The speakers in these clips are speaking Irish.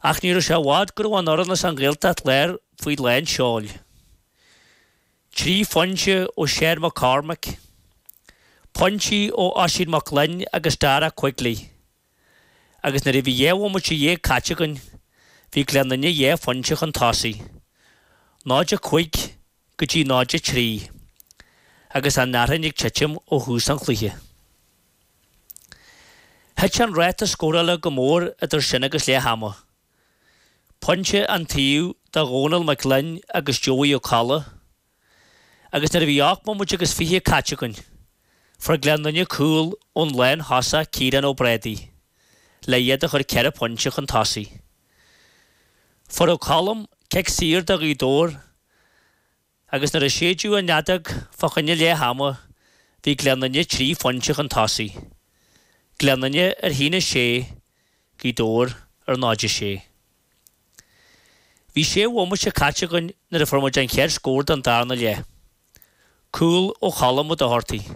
Ach ní raibh sé i bhfad go raibh an fhoireann as an Ghaeltacht Láir faoi lán seoil. 3 phointe ó Seán McCormack, pointí ó Oisín Mac Gloinn agus Dara Quigley agus nuair a bhí 12 bhomaite caite againn bhí Gleann Fhinne 2 phointe chun tosaigh, 0-5 go dtí 0-3 agus an fhearthainn ag titim ó thús an chluiche. Thit an ráta scórála go mór idir sin agus leath ama. Pointe an taobh do Dhónal Mac Gloinn agus Joey Ó Colla agus nuair a bhí 8 mbomaite agus 20 caite againn, fuair Gleann Fhinne cúl ón lánthosach Ciarán Ó Brádaigh le iad a chur ceithre phointe chun tosaigh. Fuair Ó Colm cic saor do Ghaoth Dobhair Agus nuair a séideadh an fheadóg fá choinne leath ama bhí Gleann Fhinne 3 phointe chun tosaigh. Gleann Fhinne ar 1-6, Gaoth Dobhair ar 0-6. Bhí sé bhomaite caite againn nuair a fuair muid an chéad scór don darna leath. Cúl ó Cholm Ó Dochartaigh.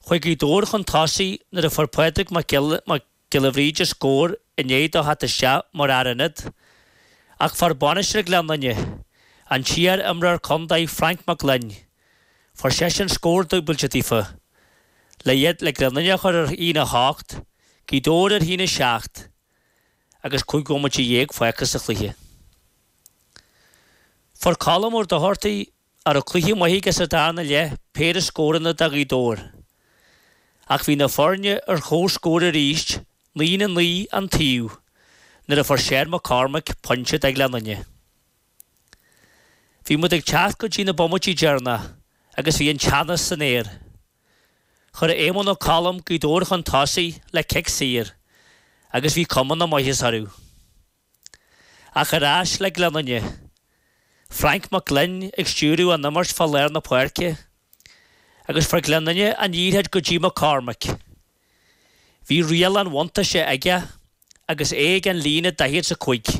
Chuaigh Gaoth Dobhair chun tosaigh nuair a fuair Pádraig Mac Giolla Bhríde scór i ndiaidh dó theacht isteach mar fhear ionaid, ach fuair bainisteoir Ghleann Fhinne, an t-iar-imreoir contae Frank Mac Gloinn, fuair seisean scór dúbailte daofa, le iad le Gleann Fhinne a chur ar 1-8, Gaoth Dobhair ar 1-7 agus 15 bhomaite fágtha sa chluiche. Fuair Colm Ó Dochartaigh a raibh cluiche maith aige sa darna leath, péire scóranna do Ghaoth Dobhair. Ach bhí na foirne ar comhscór arís, 9-9 an taobh, nuair a fuair Seán McCormack pointe do Ghleann Fhinne. Bhí muid ag teacht go dtí na bomaití deireanacha agus bhí an teannas san aer. Chuir Éamonn Ó Colm Gaoth Dobhair chun tosaigh le cic saor agus bhí cuma na maitheasa orthu. Ach ar ais le Gleann Fhinne. Frank Mac Gloinn ag stiúradh an imirt fá lár na páirce agus fuair Gleann Fhinne an liathróid go dtí McCormack. Bhí riail an bhuntáiste aige agus é ag an líne daichead 's a cuig.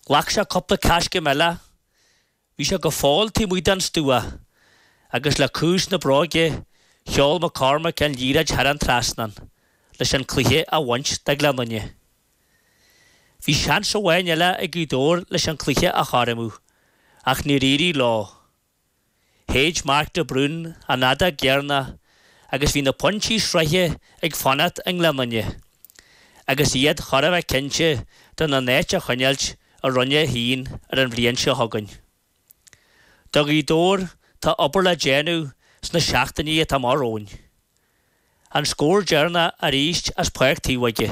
Ghlac sé cúpla coiscéim eile Bhí sé go fóill taobh amuigh den stua agus le cluas na bróige sheol McCormack an liathróid thar an trasnán leis an cluiche a bhaint de Ghleann Fhinne. Bhí seans amháin eile ag Gaoth Dobhair leis an cluiche a chothromú ach níor éirigh leo. Shéid Mark de Brún an fheadóg dheireanach agus bhí na pointí sraithe ag fanacht i nGleann Fhinne agus iad chóir a bheith cinnte den a n-áit a choinneáilt i Roinn 1 ar an bhliain seo chugainn. Do Ghaoth Dobhair tá obair le déanamh sna seachtainí atá amach romhainn. An scór deireanach arís as Páirc Taobh Óige,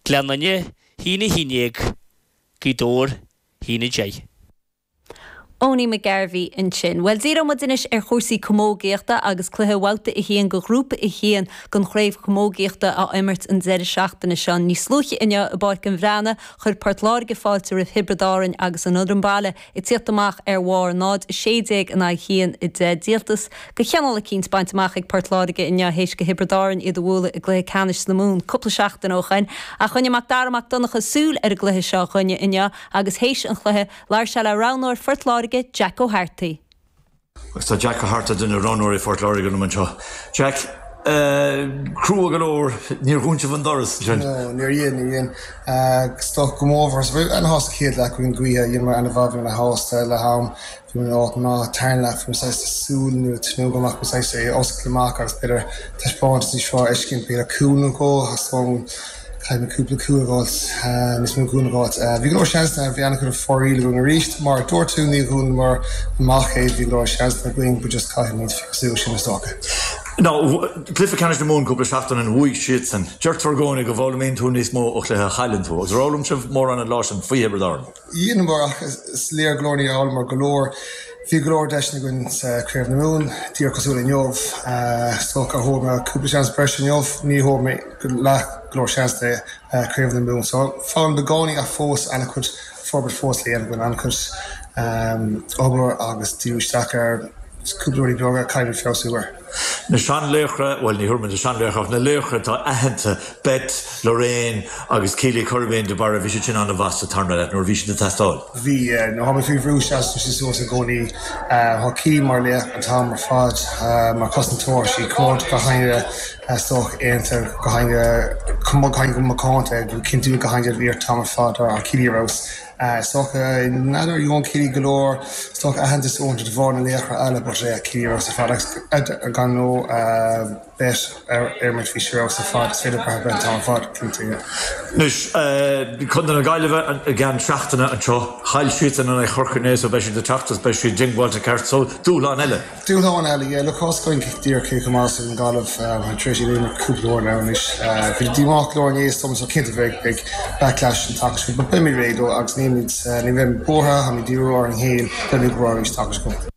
Gleann Fhinne 1-11, Gaoth Dobhair 1-10. Owenie McGarvey ansin. Bhuel, díreoidh muid anois ar chúrsaí camógaíochta agus cluiche Bhabhta 1 de Ghrúpa 1 den Chraobh Chamógaíochta á imirt an deireadh seachtaine seo. Níos luaithe inniu i bPáirc an Bhreathnaigh, chuir Port Láirge fáilte roimh Thiobraid Árainn agus an fhoireann baile ag tíocht amach ar bharr 0-16 in aghaidh 1-10. Díoltas de chineál eicínt bainte amach ag Port Láirge inniu théis do Thiobraid Árainn iad a bhualadh i gcluiche ceannais na Mumhan cúpla seachtain ó shoin. Ach choinnigh Mac Dara Mac Donncha súil ar an gcluiche seo dhúinne inniu agus théis an chluiche, Labhair sé le roghnóir Phort Láirge, Jack Ó hEartaigh. Agus tá Jack Ó hEartaigh, duine de roghnóirí Phort Láirge liom anseo. Jack, crua go leor, níor dhún sibh an doras ansin. No, níor dhein, níor dhein. Is dócha go mór mhór, bhí ana-shásta chéad leath againn gaoithe, dheineamar ana-mhaith, bhí muid ana-shásta le ham, bhí muid in áit maith, tarna leath, bhí muid saghas ag súil nó ag tnúth go mbeadh muid saghas é a oscailt amach agus b'fhéidir taispeántas níos fearr a fheiscint, b'fhéidir cúl nó dhó, theastaigh uainn. Caithfidh mé cúpla cúl a fháilt, níos mó cúl a fháilt. Bhí go leor seansanna, bhí an-chuid foighil againn arís. Mar a dúirt tú, ní dhúnamar amach é, bhí go leor seansanna againn but just caithfimid feabhsú sin is dócha. Now, cluiche ceannais na Mumhan cúpla seachtain ó shin, bhuaigh siadsan. Deirtear i gcónaí go bhfoghlaimíonn tú níos mó ó chluiche a chailleann tú. Agus ar fhoghlaim sibh mórán an lá sin faoi Thiobraid Árann? Dheineamar ach is léir go leor níor fhoghlamar go leor. Bhí go leor deiseanna againn sa Craobh na Mumhan, díreach cosúil inniu. Is dócha thóg mé cúpla seans breise inniu, ní thóg mé leath go leor seans de Craobh na Mumhan. So foghlaim i gcónaí ach fós an-chuid forbairt fós le dhéanamh againn, an-chuid obair agus díriú isteach ar cúpla rudaí beaga a caithfimid feabhsú air. Na seanlaochra, bhuel ní thabharfaidh muid na seanlaochra ach na laochra atá aitheanta, Beth, Lorraine agus Keely Currabeen de Barra, bhí siad sin an-mhaith sa tarna leath nuair a bhí siad ag teastáil. Bhí, yeah. Nuair atá muid faoi bhrú seasann siad suas i gcónaí. Tá Keely mar laoch an t-am ar fad, mar chosantóir, sí comórtas gach éinne is dócha aontaithe gach éinne gach éinne go macánta ag cinntiú gach éinne an t-am ar fad tá Keely ar fheabhas. Is dócha, n'fheadar, gheobhann Keely go leor, is dócha, aitheantas uaireanta de bharr na laochra eile but yeah, Keely ar fheabhas ar fad agus gan nó Beth ar imirt bhí sí ar fheabhas ar fad, is féidir brath ar Beth an t-am ar fad, cinnte, yeah. Anois, Contae na Gaillimhe i gceann seachtaine anseo, chaill siadsan in aghaidh Chorca inné so beidh siad ag teacht agus beidh siad diongbháilte ceart so dúshlán eile. Dúshlán eile, yeah. Look, tá's againn díreach cé chomh maith is an Ghaillimh tar éis iad a imirt cúpla uair now anois. Bhí díomách go leor inné is dóigh so cinnte bheidh beidh backlash an tseachtain seo but beimid réidh dó agus nílimid ní bheimid buartha, táimid díriú ar an gcéim, beimid go breá arís tseachtain seo chugainn.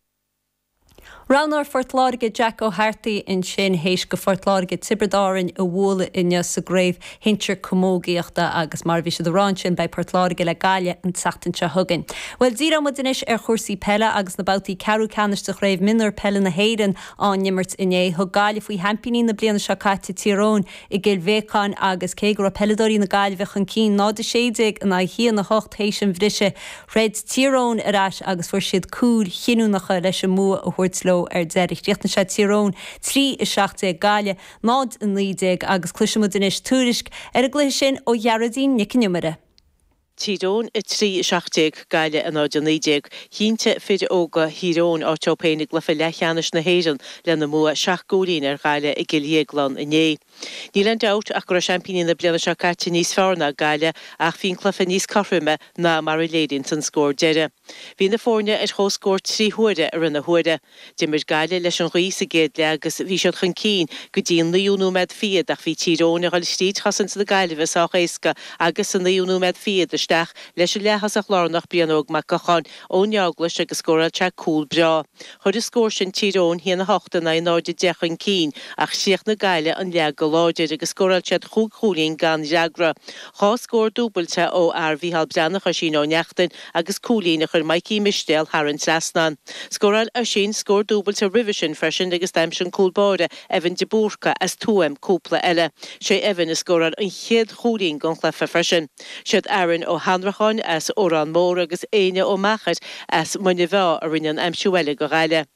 Roghnóir Phort Láirge Jack Ó hEartaigh ansin théis go Phort Láirge Tiobraid Árainn a bhualadh inniu sa gcraobh shinsir camógaíochta agus mar a bhí siad a rá ansin beidh Port Láirge le Gaillimh an tseachtain seo chugainn. Bhuel díreoidh muid anois ar chúrsaí peile agus na babhtaí ceathrú ceannais de Chraobh Mionúir Peile na hÉireann á n-imirt inné. Thug Gaillimh faoi sheaimpíní na bliana seo caite Tír Eoghain i gCill Bhéacáin agus cé go raibh peileadóirí na Gaillimhe chun cinn 0-16 in aghaidh 1-8 théis an bhrisidh, throid Tír Eoghain ar ais agus fuair siad cúil chinniúnacha leis an mbua a thabhairt leo ar deireadh. Chríochnaigh sé Tír Eoghain 3-17 Gaillimh 0-19 agus cloisfidh muid anois tuairisc ar an gcluiche sin ó Ghearóidín Nic an Iomaire. Tír Eoghain 3, 17, Gaillimh 0, 19. Chinntigh fir óga Thír Eoghain áit dóibh féin i gcluiche leathcheannais na hÉireann lena mbua seacht gcúilín ar Ghaillimh i gCill Dhéagláin inné. Níl aon dabht ach go raibh seaimpíní na bliana seo caite níos fearr ná Gaillimh ach bhí an cluiche níos cothroime ná mar a léiríonns an scór deiridh. Bhí na foirne ar comhscór 3 huaire i rith na huaire. D'imir Gaillimh leis an ghaoth sa gcéad leath agus bhí siad chun cinn go dtí an naoú nóiméad fichead ach bhí Tír Eoghain ag dul thríd chosaint na Gaillimhe sách éasca agus sa naoú nóiméad fichead isteach leis an leath-thosach lárnach Brian Óg Mac Gocháin ón Eaglais agus scóráil sé cúl breá. Chuir an scór sin Tír Eoghain 1-8 in aghaidh 0-10 chun cinn ach chríochnaigh Gaillimh an leath go láidir agus scóráil siad chúig chúilín gan fhreagra. Dhá scór dúbailte ó fhear Mhícheál Breathnach Oisín Ó Neachtain agus cúilín a chuir Mikey Mistéal thar an trasnán. Scóráil Oisín scór dúbailte roimhe sin freisin agus d'aimsigh an cúl báire Evan de Búrca as Tuaim cúpla eile. Sé Evan a scóráil an chéad chúilín den chluiche freisin. Siad Aaron Ó hAnnracháin as Órán Mór agus Éanna Ó Meachair as Muine Mheá a rinne an aimsiú eile do Ghaillimh.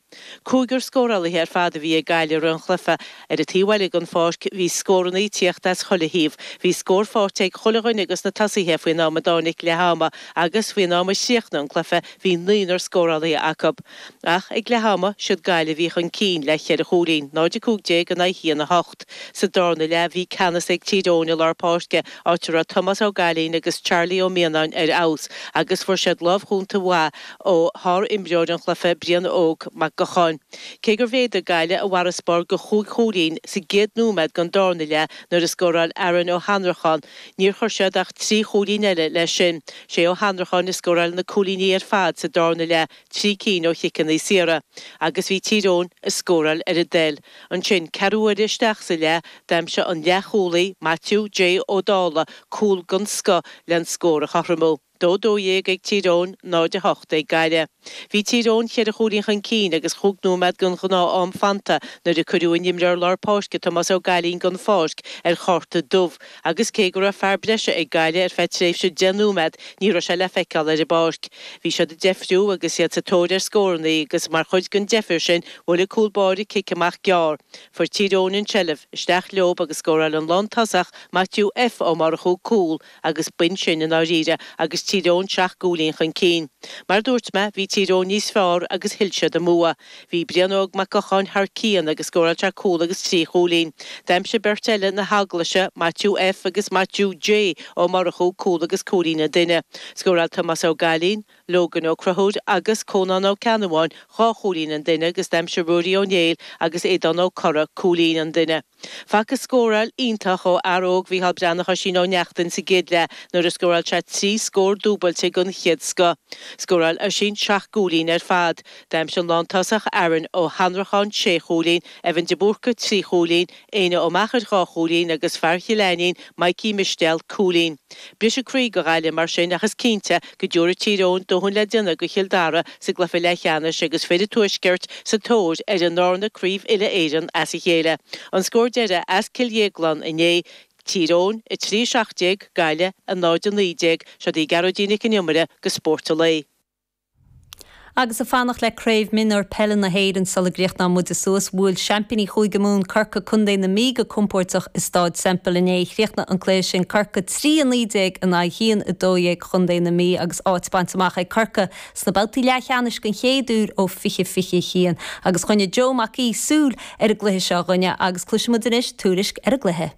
Cúigear scórálaithe ar fad a bhí ag Gaillimh i rith an chluiche. Ar an taobh eile den pháirc, bhí scóranna ag tíocht as chuile thaobh. Bhí scór faighte ag chuile dhuine dos na tosaithe faoin am a dtáinig leath ama agus faoin am a chríochnaigh an cluiche bhí naonúr scórálaithe acu. Ach ag leath ama, siad Gaillimh a bhí chun cinn le cheithre chúilín, 0-15 in aghaidh 1-8. Sa darna leath bhí ceannas ag Tír Eoghain i lár páirce, áit a raibh Tomás Ó Gailín agus Charlie Ó Mianáin ar fheabhas agus fuair siad lámh chúnta mhaith ó shár-imreoir an chluiche, Brian Óg Mac Gocháin. Cé gur mhéadaigh Gaillimh a bhfarasbarr go chúig chúilín sa gcéad nóiméad den darna leath nuair a scóráil Aaron Ó hAnnracháin, níor chuir siad ach trí chúilín eile leis sin. Sé Ó hAnnracháin a scóráil na cúilíní ar fad sa darna leath, trí cinn ó chiceanna saora, agus bhí Tír Eoghain ag scóráil ar a dtoil. Ansin, ceathrú uaire isteach sa leath, d'aimsigh an leathchúlaí, Maitiú J Ó Dálaigh, cúl den scoth len scór a chothromú. 2-12 ag Tír Eoghain, 0-8 ag Gaillimh. Bhí Tír Eoghain cheithre chúilín chun cinn agus chúig nóiméad den ghnáth-am fanta nuair a cuireadh a n-imreoir lár páirce Tomás Ó Gailín den pháirc ar chárta dubh agus cé go raibh fear breise ag Gaillimh ar feadh tréimhse deich nóiméad ní raibh sé le feiceáil ar an bpáirc. Bhí siad ag deifriú agus iad sa tóir ar scóranna agus mar chuid den deifir sin bhuail an cúl báire cic amach gearr. Fuair Tír Eoghain an tseilbh, isteach leob agus scóráil an lántosach Maitiú F Ó Murchú cúl Agus b'in sin i ndáiríre agus Tír Eoghain seacht gcúilín chun cinn. Mar a dúirt mé, bhí Tír Eoghain níos fearr agus thuill siad a mbua. Bhí Brian Óg Mac Gocháin thar cionn agus scóráil sé cúl agus trí chúilín. D'aimsigh beirt eile na hEaglaise, Maitiú F agus Maitiú J Ó Murchú, cúl agus cúilín an duine. Scóráil Tomás Ó Gailín, Logan Ó Conchúir agus Cónán Ó Ceannabháin dhá chúilín an duine agus d'aimsigh Ruairí Ó Néill agus Aodán Ó Corra cúilín an duine. Facthas scóráil iontach ó fhear óg Mhícheál Breathnach Oisín Ó Neachtain sa gcéad leath nuair a scóráil sé 3 scór dúbailte den chéad scoth. Scóráil Oisín 7 gcúilín ar fad. D'aimsigh an lántosach Aaron Ó hAnnracháin 6 chúilín, Evan de Búrca 3 chúilín, Éanna Ó Meachair 2 chúilín agus fear Chill Ainnín, Mikey Mistéal, cúilín. Briseadh croí do Ghaillimh mar sin ach is cinnte go dtabharfaidh Tír Eoghain dóthain le déanamh do Chill Dara sa gcluiche leathcheannais agus fir an Tuaiscirt sa tóir ar a ndarna Craobh Uile-Éireann as a chéile. An scór deiridh as Cill Dhéagláin inné, Tír Eoghain 3, 17, Gaillimh 0, 19. Seo í Gearóidín Nic an Iomaire do Spórt an Lae. Agus ag fanacht le Craobh Mionúr Peile na hÉireann sula gcríochnóidh muide suas, bhuail seaimpíní Chúige Mumhan Corcaigh Contae na Mí go compóirteach i Stáid Semple inné. Chríochnaigh an cluiche sin Corcaigh 3, 19 in aghaidh 1, 12 Chontae na Mí agus áit bainte amach ag Corcaigh sna babhtaí leathcheannais den chéad uair ó 2021. Agus choinnigh Joe Mac Aoidh súil ar an gcluiche seo dhúinne agus cloisfidh muid anois tuairisc ar an gcluiche.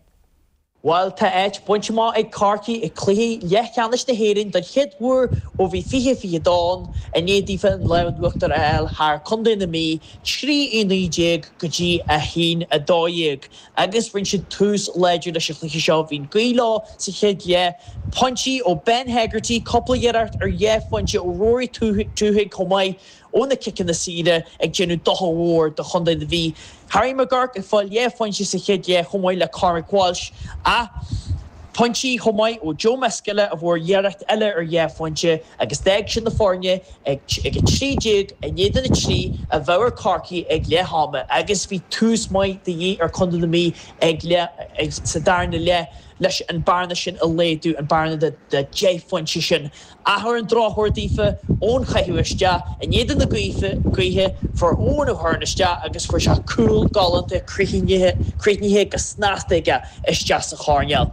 Bhuel, tá áit bainte amach ag Corcaigh i gcluiche leathcheannais na hÉireann don chéad uair ó bhí 2022 ann, i ndiaidh daofa an lámh in uachtar a fháil thar Contae na Mí, 3 19 go dtí 1 12. Agus rinne siad tús láidir leis an chluiche seo. Bhí an ghaoth leo sa chéad leath. Pointí ó Ben Hegarty, cúpla iarracht ar dhá phointe ó Rory Twohig chomh maith. ó na ciceanna saora ag déanamh dochar mhór do chontae na Mí. Harry McGurk ag fáil dhá phointe sa chéad leath chomh maith le Cormac Walsh ach pointí chomh maith ó Joe Misskella a fuair iarracht eile ar dhá phointe agus d'fhág sin na foirne ag 13 in éadan 3 a bheadh ar Corcaigh ag leath ama agus bhí tús maith de dhíth ar chontae na Mí ag sa darna leath leis an bearna sin a laghdú, an bearna de 10 phointe sin. Ach ar an drochuair daofa, ón chaitheamh isteach, in éadan na gaoithe, fuair Eoin O'Hearn isteach agus fuair sé cúl galánta críochnaithe go snasta aige isteach sa choirnéal.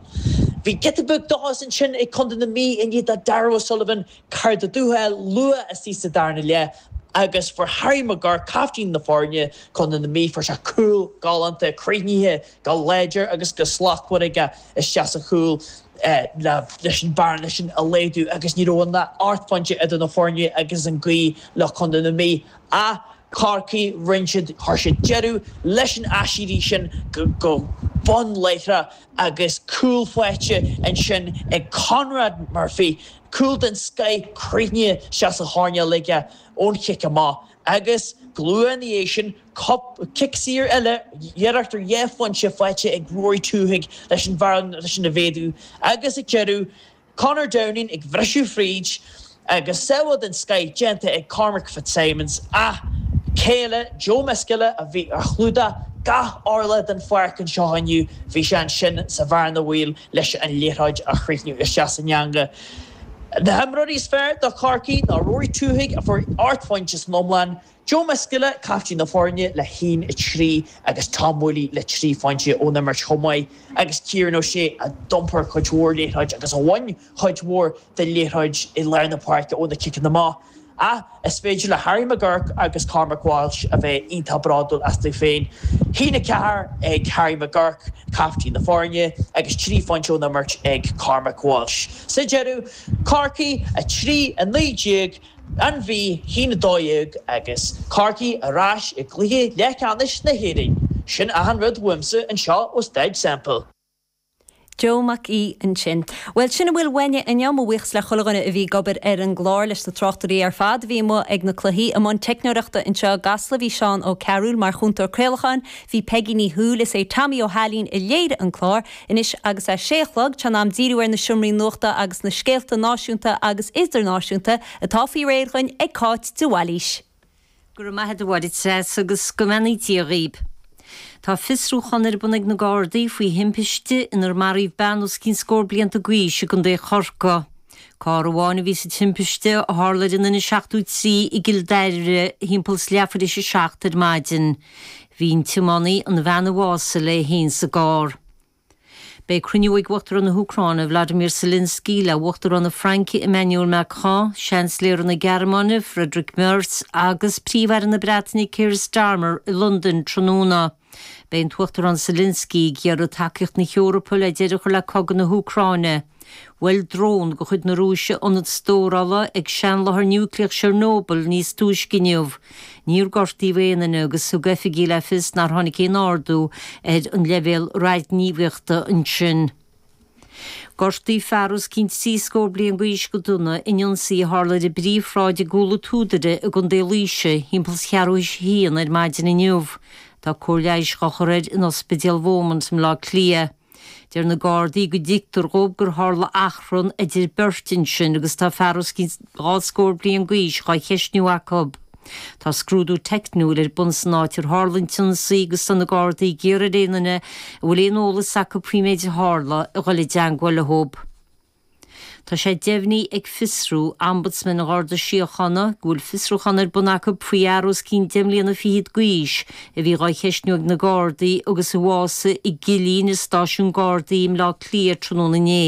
Bhí giota beag dóchais ansin ag Contae na Mí i ndiaidh do Darragh O'Sullivan cárta dubh a fháil luath istigh sa darna leath agus fuair Harry McGurk, caiftín na foirne, Contae na Mí, fuair sé cúl galánta críochnaithe go láidir agus go slachtmhar aige isteach sa chúl leis an bearna sin a laghdú agus ní raibh ach ocht bpointe idir na foirne agus an ghaoth le Contae na Mí. Ach Corcaigh, rinne siad, chuir siad deireadh leis an aiséirí sin go bun láithreach agus cúl faighte ansin ag Conrad Murphy, cúl den scoith críochnaithe isteach sa choirnéal aige ón chic amach. Agus go luath ina dhiaidh sin, cic saor eile, iarracht ar dhá phointe faighte ag Rory Twohig leis an bhearna sin a mhéadú agus ag deireadh, Conor Downing ag bhriseadh fríd agus sábháil den scoith déanta ag Cormac Fitzsimons ach cé eile, Joe Misskella a bhí ar chlúdach gach orlach den pháirc anseo inniu, bhí sé ansin sa bhearna bhaoil leis an liathróid a chríochnú isteach san eangach. Na himreoirí is fearr do Chorcaigh ná Rory Twohig a fuair 8 phointe san iomlán, Joe Misskella, caiftín na foirne, le haon 3 agus Tom Whooley le 3 phointe ón imirt chomh maith agus Kieran O'Shea a d'iompair cuid mhór liathróid agus a bhain cuid mhór de liathróid i lár na páirce ó na ciceanna amach. Ach is féidir le Harry McGurk agus Cormac Walsh a bheith iontach bródúil astu féin. Haon 4 ag Harry McGurk, caiftín na foirne, agus 3 phointe ón imirt ag Cormac Walsh. Sa deireadh, Corcaigh 3, 19, An Mhí, 1, 12 agus Corcaigh ar ais i gcluiche leathcheannais na hÉireann. Sin achan rud uaimse anseo ó Staid Semple. Joe Mac Aoidh ansin. Bhuel, sin a bhfuil uainne inniu. Mo bhuíochas le chuile dhuine a bhí ag obair ar an gclár, leis na tráchtairí ar fad a bhí amuigh ag na cluichí. I mbun teicneoireachta anseo i gCasla bhí Seán Ó Cearúil, mar chúntóir craolacháin bhí Peigí Ní Shúill. Is é Tommy Ó hAilín a léirigh an clár. Anois agus é sé a chlog, tá in am díriú ar na seomraí nuachta agus na scéalta náisiúnta agus idirnáisiúnta atá faoi réir dhuinn ag Cáit de Bhailís. Go raibh maith agat a Mháire Treasa agus go mbeannaí Dia dhaoib. Tá fiosrúchán ar bun ag na Gardaí faoi thimpiste inar maraíodh bean os cionn scór blianta d'aois i gContae Chorcaí. Carr amháin a bhí sa timpiste a tharla ar an N73 i gCill Dara thimpeall is leathuair théis a 7 ar maidin. Bhí an tiománaí, an bhean a bhásaigh, léi féin sa gcarr. Beidh cruinniú ag Uachtarán na hÚcráine, Vladimir Zelensky, le Uachtarán na Fraince, Emmanuel Macron, Seansailéir na Gearmáine, Friedrich Merz, agus Príomh-Aire na Breataine, Keir Starmer, i Londain tráthnóna. Beidh an tUachtarán Zelensky ag iarraidh tacaíocht na hEorpa le deireadh a chur le cogadh na hÚcráine. Bhuail drón de chuid na Rúise ionad stórála ag seanláthair núicléach Chernobyl níos túisce inniu. Níor gortaíodh aon duine agus thug oifigigh le fios nár tháinig aon ardú ar an leibhéal radaighníomhaíochta ansin. Gortaíodh fear os cionn trí scór bliain d'aois go dona in ionsaí a tharla ar an bPríomhshráid i gCúil an tSúdaire i gContae Laoise thimpeall is cheathrú théis a haon ar maidin inniu. Tá cóir leighis á chur air in Ospidéal Beaumont i mBleá Cliath. Deir na Gardaí go dtuigtear dhóibh gur tharla achrann idir beirt ansin agus tá fear os cionn dhá scór bliain d'aois dhá cheistniú acu. Tá scrúdú teicniúil ar bun san áit ar tharla an t-ionsaí agus tá na Gardaí ag iarraidh ar aon duine a bhfuil aon eolas acu faoin méid a tharla a dhul i dteangmháil leo. Tá sé deimhnithe ag Fiosrú, Ombudsman an Gharda Síochána, go bhfuil fiosrúchán ar bun acu faoi fhear os cionn deich mbliana fichead d'aois a bhí dhá cheistniú ag na Gardaí agus a bhásaigh i gcillín i stáisiún Gardaí i mBleá Cliath tráthnóna inné.